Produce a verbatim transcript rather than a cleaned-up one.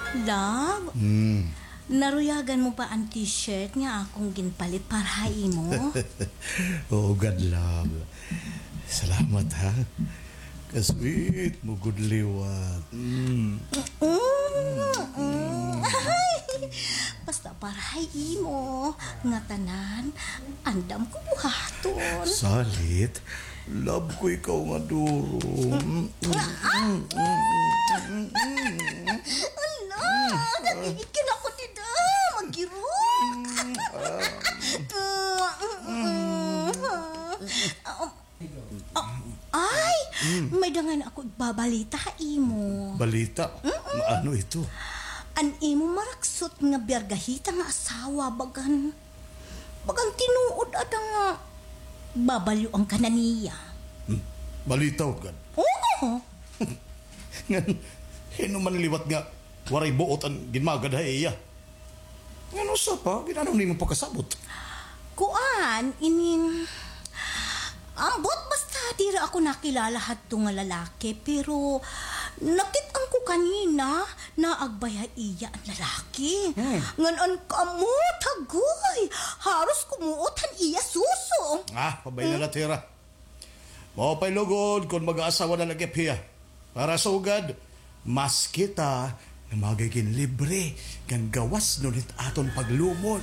Love, Hmm. naruyagan mo ba an t-shirt nga akon ginpalit para ha imo? Oo gad, love. Salamat, ha. Ka-sweet mo gud liwat. Mm. Mm, mm. Ay, basta para ha imo, ngatanan, andam ko buhaton. Salit, love ko ikaw nga duro. Hala, nagigigil ako dida, magirok. Ah, ay, may dangan ako igbabalita ha imo. Balita? Mm-mm. Ano ito? An imo maraksot nga biyargahita nga asawa, bagan, bagan tinuod ada nga babalyoan ka na niya. Hmm? Balita gad? Oo. Ngan, hin-o man liwat nga waray buot an ginmagad ha iya? Ngan usa pa, gin-ano nimo pakasabot? Kuan, inin, ambot basta diri ako nakilala hadto nga lalaki, pero nakit-an ko kanina, naagbay ha iya an lalaki. Hmm. Ngan an kamot, agoy, haros kumuot han iya suso. Ah, pabay na la, Tira. Maupay lugod kon mag-aasawa na la gihap hiya. Para sugad, mas kita nga magigin libre ngan gawas ngunit aton paglumon.